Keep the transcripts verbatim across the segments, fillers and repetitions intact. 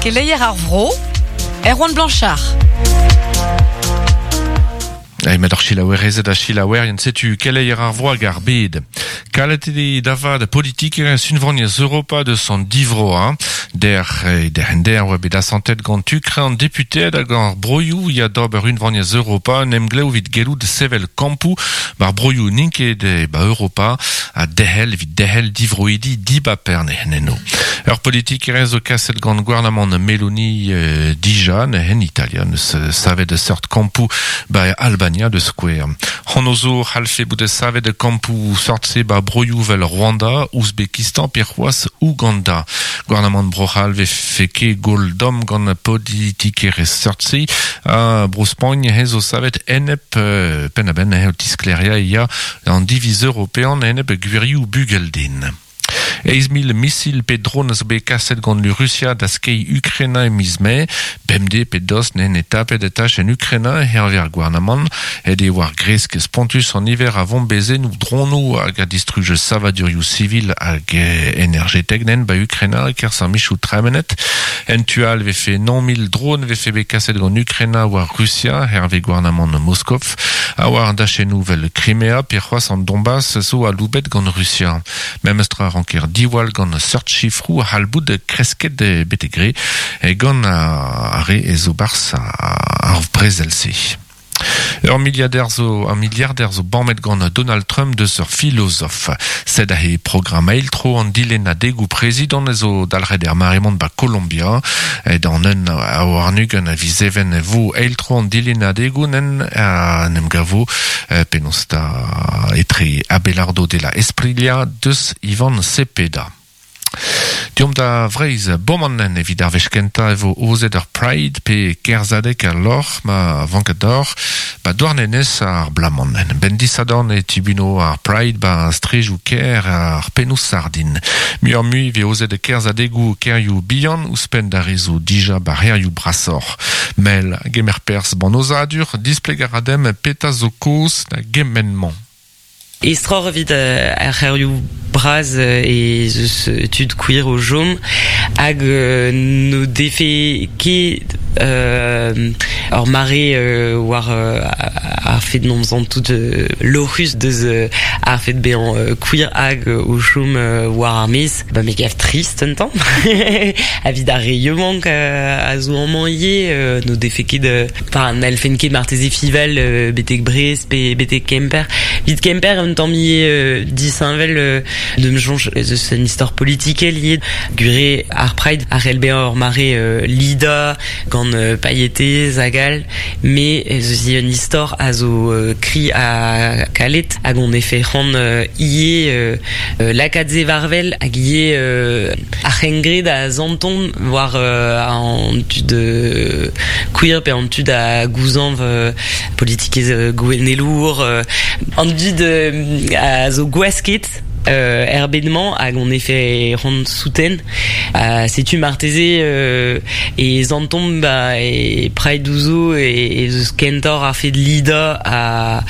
Keleier ar vro, Erwan Blanchard. Ai met ar chilaouerezet a chilaouerien setu keleier ar vro hag ar bed. Kalet eo davad politikerez unvaniezh Europa deus an divroa. Der, der en der oa bet asantet gant tukre an deputeed hag ar broioù ya d'ober unvaniezh Europa en emglev evit gellout sevel kampoù bar broioù n'int ket e ba Europa a dehel evit dehel divroidi dibaperne heneno. Ur politikerez zo kaset gant gouarnamant Meloni euh, dija en Italia neus savet de seurt kampoù ba Albania de Square. Hon zo c'hallfe bout savet de kampoù sort-se ba broioù vel Rwanda, Ouzbekistan, pe c'hoazh Ouganda. Gouarnamant Bro-C'hall ve feke gol dom gant politikerez sort-se a bro Spagn he zo savet enep euh, penn a-benn he o tiskleria ya an diviz european enep gwirioù bugeldin. Eiz mil misil pe dron a zo bet kaset gant lu Russia da skei Ukraina e miz mae, bemde pe dost nen e tapet e tach en Ukraina herve ar gouarnamant, ed e war gresk spontus an iver a bombezennoù dronoù hag a distruj savadurioù sivil hag energetek nen ba Ukraina kerzh ar michoù tremenet. En tu all vefe non mil dron vefe bet kaset gant Ukraina war Russia herve gouarnamant Moskov, a war dachennoù vel Crimea pe c'hoazh an Donbass zo aloubet gant Russia. Memestra ranker diwall gant seurt chifroù a c'hall bout kresket betek re e gant ar re e zo barzh ar brezel-se. Ur milliardaire zo, un milliardaire zo bammet gant Donald Trump deus ur filosof. Sed aze programm eil tro an dilennadegoù prezidant zo dalc'het er mare-mañ ba Colombia. E d'an un a warn-ugent a viz even vo eil tro an dilennadegoù nen a nem gavo penaos da etre Abelardo de la Espriella deus Ivan Cepeda. Deomp da Vreizh bomanen evit ar wech kentañ e vo aozet ur Pride pe kerzhadeg al lorc'h ma vanket d'or ba Douarnenez ar bloaz-mañ. Ben disadorn e tibuno ar Pride ba strejoù kêr ar pennoù sardin. Muioc'h mui vez aozet kerzhadegoù kêrioù bihan ouzhpenn d'ar re zo dija ba c'hêrioù brasoc'h. Mel gemer perzh ban aozadur displeg a ra demp petra zo kaoz da gement-mañ. Estroc'h evit ar c'hêrioù bras e zeus tud queer o chom hag no defe ket ur mare war ar fet n'omp tout lorc'hus deus ar fet bezañ queer hag o chom war ar maez ba me gav trist un tamm evit ar re yaouank a zo amañ ivez no defe ket enfin n'hallfen ket marteze fival betek Brest pe betek Kemper evit Kemper un tamm ivez disheñvel de me soñj eus un istor politikel ivez gwir eo ar Pride a c'hell bezañ ur mare lidañ gant pailhetez hag all met ez eus un istor a zo kri ha kalet hag on efe c'hoant ivez lakaat se war-wel hag ivez ar c'hengred a santomp war an tud queer pe an tud a gouzañv politikezh gouennelour an dud a zo gwasket euh, er bed-mañ hag on efe c'hoant souten uh, setu marteze euh, e santomp ba e Pride zo e, e zeus kentoc'h ar fet lidañ a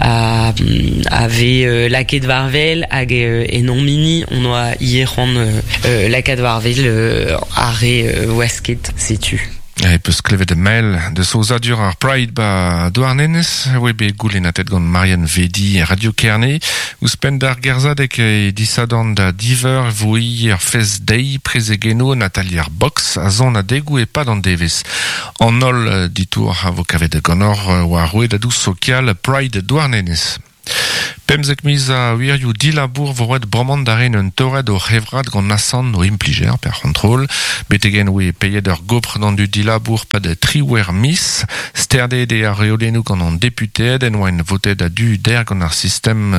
a, a vez euh, lakaet war-wel hag euh, en hon hini on oa ivez c'hoant euh, lakaat war-wel euh, ar re euh, wasket setu. E peus klevet mel de aozadur ar Pride ba Douarnenez, oe bet goulennatet gant Marianne Vedi Radio Kerne, ouzhpenn d'ar gerzhadeg e disadorn da div eur vo ur fest deiz prezegennoù Nathalie ar Box a sonadegoù e-pad an devezh. An holl ditour a vo kavet ganeoc'h war rouedadoù sokial Pride Douarnenez. Pemzek miz a wirioù dilabour vo roet bremañ da ren un torret o c'hevrad gant asant o implijer per c'hontrol. Betegen oe peiet ur gopr d'an dud dilabour pad triwec'h miz. Sterdet eo ar reolennoù gant an deputeed en oa votet a du der gant ar sistem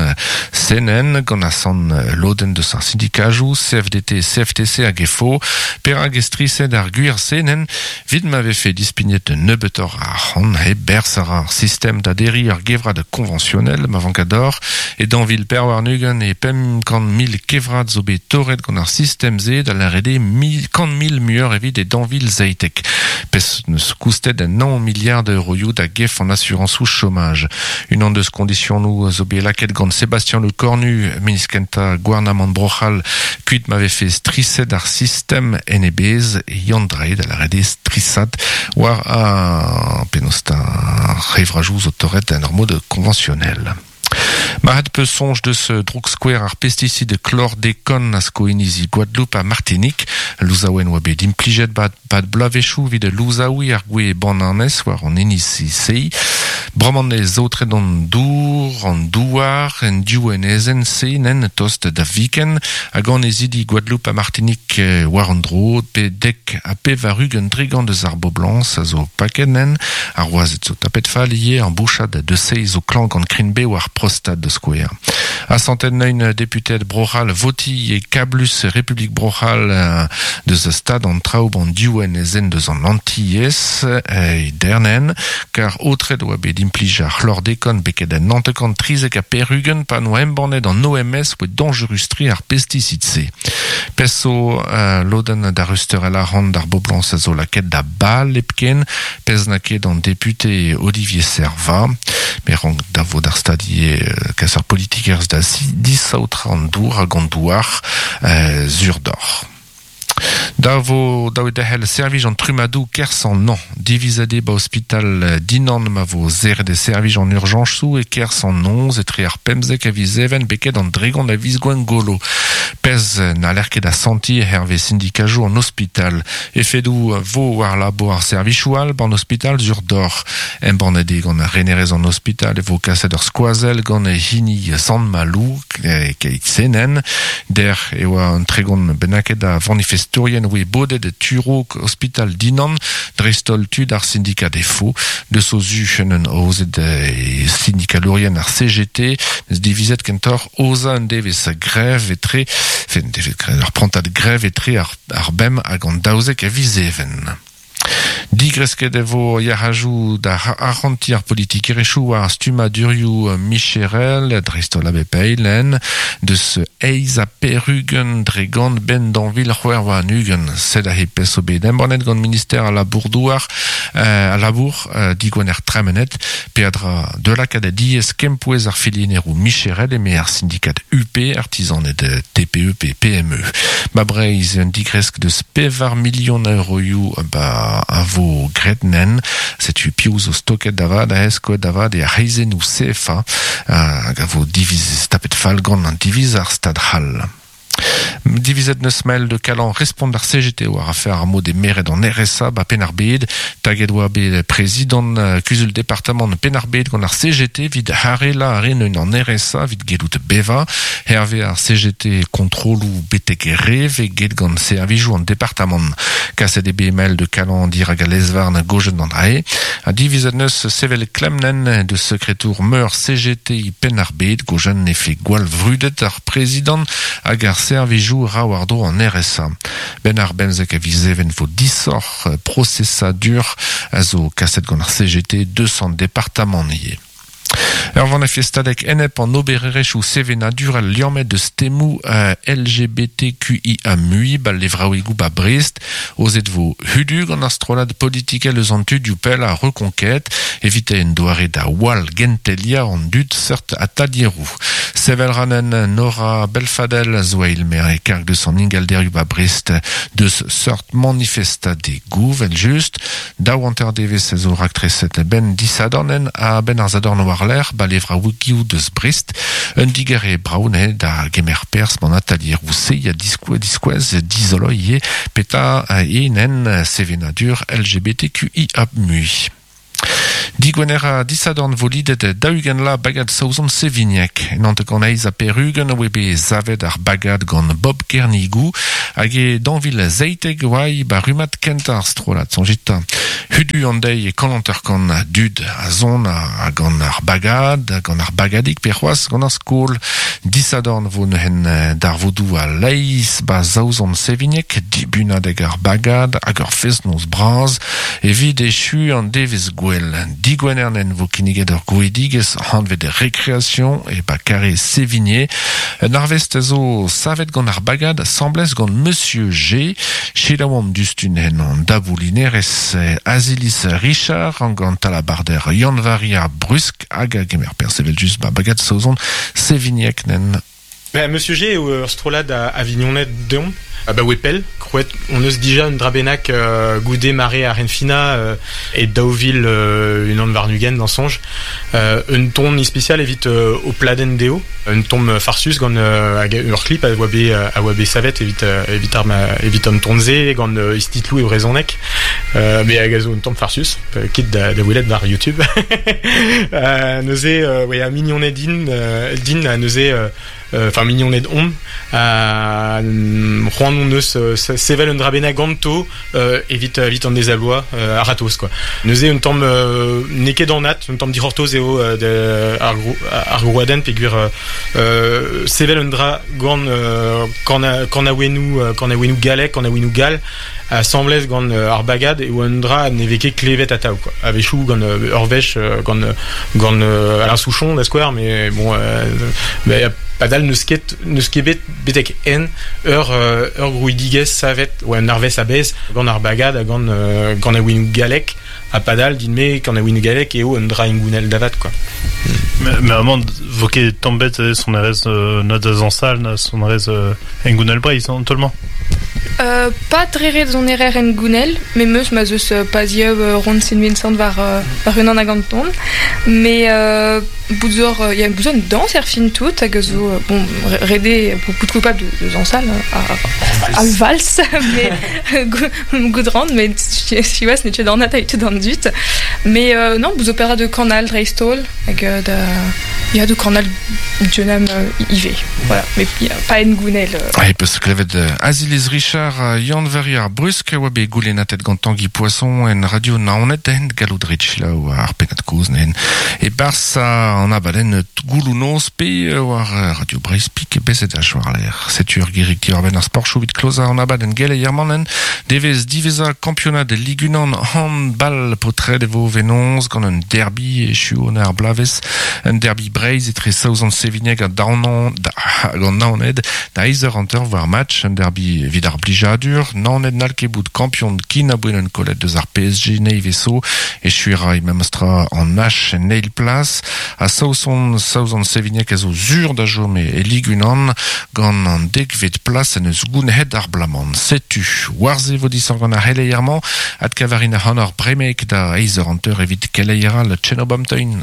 C N N gant asant lodenn deus ar sindikajoù C F D T C F T C hag F O. Perak e striset ar gwir C N N vit ma vefe dispignet nebeutoc'h ar c'hant he berzh ar sistem da derriñ ar gevrad konvañsionel ma vank ador. E danvil perwarnugen e pem kant mil kevrad zo bet torret gant ar sistem ze da l'arede mil, kant mil muur evit e danvil zeitek. Pes neus koustet un nan milliard d'euroioù da gef an assurance ou chômage. Une an deus konditionou zo bet laket gant Sébastien Le Cornu, ministre gouarnamant brochal, kuit m'avait fait strisset ar system N E Bs e yandrae da l'arede strissat war a penosta revrajou zo torret un mode conventionnel. Marat peu songe de ce droug square ar pesticide chlordécone a sko inizi Guadeloupe a Martinique. Louzaouen oa bet implijet bat, bat blavechou vid louzaoui ar gwe bananez war an inizi sei. Bromand e zaotret an dour, an douar, en diou en ezen se nen tost da viken hag an ezidi Guadeloupe a Martinique war an dro pe dek a pe varug un dregant deus ar boblans a zo paket nen ar oazet zo tapet fall ie an bouchad de seiz o klank an krinbe war prostate de square. A centaine neun député Brochal voti e kablus République Brochal deus stad an traoub an diouen ezen deus an Antilles e dernen kar otred oa bet implij ar chlordécone beket an nantekant trizek a perugen pa noa embannet an O M S oe dangerustri ar pesticide se. Peso uh, loden da ruster el arant d'ar boblans a zo laket da bal epken pez na ket an député Olivier Serva me rank da vo d'ar stadie uh, kas ar politikers da disaotra an dour hag an douar uh, zur d'or. Da vo da dehel servij an trumadou kers an nan. Divizade ba hospital dinan ma vo zer de servij an urgence e kers an nonz e tre ar pemzek a vizeven beket an dregon a vizgwen golo. Pez na lerket a santi herve syndikajou an hospital. Efedou vo war labo ar servichou al ban hospital zur d'or. Embanede gant ar renerez an hospital e vo kaset ur skoazel gant e hini Sant Malou keit senen. Der e oa an tregon benaket a manifestorien oe bodet de Turok hospital dinan dreistol tud ar syndikat defo de sozu enen ozet syndikalourien ar C G T neus divizet kentor oza un devez grève etre fen devez ar prantad grève etre ar, ar bem hag an daouzek a vizeven. Digresket e vo yarajou da arranti ar politik erechou ar stumadurioù Micherel, dreistol a bepeilen, deus eiz a perugen dregant ben danvil c'hwer war an ugen. Sed a he peso bet embannet gant ministère a labour-douar, euh, a labour, euh, digwener tremenet, peadra de la kad a diez kempouez ar filienerou Micherel eme ar syndikat U P, artisan et T P E P P M E. Ma breiz un digresk deus pevar million euroioù ba a vo gretnen, setu piou zo stoket davad, a eskoet davad e a reizennou C F A, hag a vo diviz tapet fall gant an diviz ar stad hall. Divizet neus mael de Calan respond ar C G T war affaire ar mod e meret an R S A ba Penarbed, taget oa bet prezident kuzul departement Penarbed gant ar C G T vid harela ar en an R S A vid gelout beva, herve ar C G T kontrolou betek reve get gant servijou an departement. Kaset e B M L de Calan dirag a lezvarn gojen an ae, a divizet neus sevel klemnen de sekretour meur C G T Penarbed gojen efe gwall vrudet ar prezident hag ar servijou rawardo an R S A. Ben ar bemzek a vizeven vo disor procesadur a zo kaset gant ar C G T deux cents départements nié. Ur van a festadek enep an obererechou sevenadur al liammet de stemou uh, L G B T Q I A mui ba levraouigou ba Brest ozet vo hudu gant ar strollad politikel eus an tud pel a reconquête evite en doare da wal gentelia an dud seurt atalierou. Sevel ranen Nora Belfadel zo eil mer e karg deus an ingalderioù ba Brest deus seurt manifesta de gouvel just daou anter devez zo raktreset ben disadornen a ben ar zadorn war ler ba levraouigou deus Brest un digere braune da gemer pers man atalierou se ya diskouez diskouez dizolo ye peta enen sevenadur L G B T Q I A mui. Digwener a disadorn volidet daougen la bagad saouzon Sevignac. Nant gant eiz a perugen oe be zavet ar bagad gant Bob Kernigou hag e danvil zeiteg oai ba rumat kent ar strolat sonjita. Hudu an deiz e kalanter gant dud a zon a gant ar bagad, gant ar bagadik pe c'hoaz gant ar skol. Disadorn vo neuhen darvodou a leiz ba saouzon Sevignac, dibunadeg ar bagad hag ur fest-noz braz evit echu an devez gwell. Digwenernen vo kinniget ur grouidigez hanvet récréation e ba kare Sévigné. Un arvest zo savet gant ar bagad semblez gant Monsieur G. Chelaouam dustun hen an daboulinerez Azilis Richard an gant talabarder Yann-Vari ar Brusk hag a gemer persevel just ba bagad saozon Sévigné nen. Ben, Monsieur G eo ur strollad a Avignonnet deomp, a ba wepel, krouet on eus dija un drabenak euh, goude mare ar Renfina euh, e daouvil euh, un an varnugen dans sonj. Euh, un ton ispecial evit euh, o pladen deo, un ton farsus gant euh, hag ur clip a oa bet a oa bet savet evit euh, evit ar ma, evit an tonze gant euh, istitlou e brezonek, euh, mais hag a zo un tamm farsus, euh, ket da, da welet war YouTube. euh, neuze, euh, ouais, a mignonnet din, euh, din a neuze euh, enfin mignonnet om a c'hoant on eus sevel un drabena ganto euh, evit evit an dezaloa euh, a ratos quoi. Neuze un tamm euh, n'eo ket an at, un tamm dic'hortoz eo euh, de ar ar grouadenn peogwir euh, sevel un dra gant euh, kanaouennoù kanaouennoù gallek, kanaouennoù gall a semblez gant ar bagad eo un dra ne vez ket klevet atav quoi. A-wechoù gant ur wech gant gant Alain Souchon da skouer, mais bon euh, bah, padal neus ket neus ket bet betek en ur ur grouidigez savet ou un arvez a-bez gant ar bagad ha gant gant a ouinoù gallek ha padal din-me gant a ouinoù gallek eo un dra ingounel davat quoi. Mais, mais amant vo ket tamm bet son erez euh, na da zañsal na son erez euh, engounel Breizh an tolmañ. Euh, pas dre ret son erer en gounel, mais meus ma zeus paziev rond sin Vincent war, war unan hag an ton. Mais euh, bout euh, y a besoin de danse er fin tout, hag zo, bon, rede bout coupable de, de zañsal, a, a vals, mais goudrant, mais siwazh n'eo ket an at a d'an dud. Mais euh, non, bout opéra de Canal dreist-holl, hag da, ya de Canal Dionam euh, I V. Voilà, mais y a pas en gounel. Euh. Ouais, peus klevet Azilis Richard Yann-Vari ar Brusk oa bet goulennatet gant Tanguy Poisson en radio Naoned en gallout ret selaou ar pennad kozh nen. E barzh an abadenn gouloù noz pe war Radio Breizh pik bezet a war l'air. Setu ur gerig diwar-benn ar sportchoù evit klozañ an abadenn geleier-mañ devez diwezhañ kampionad Ligue un handball paotred e vo venoz gant un derby echu an ar blavezh, un derby Breizh etre Saozon Sévigné ha Daonan gant Naoned da eizh eur hanter war match, un derby evit ar blijadur, Naoned n'hall ket bout kampion kin aboe un kollet deus ar P S G nevez-zo, echu ra e memestra an H en eil plas, ha Saozon Saozon Sévigné a zo zur da chom e Ligue un gant an dekvet plas en eus gounhet ar blamant. Setu, war-se vo disoc'h gant ar c'heleier-mañ, adkavarin ac'hanoc'h ar bremek da eizh eur hanter evit keleier all Tchenobamteun.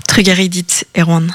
Trugarez dit, Erwan.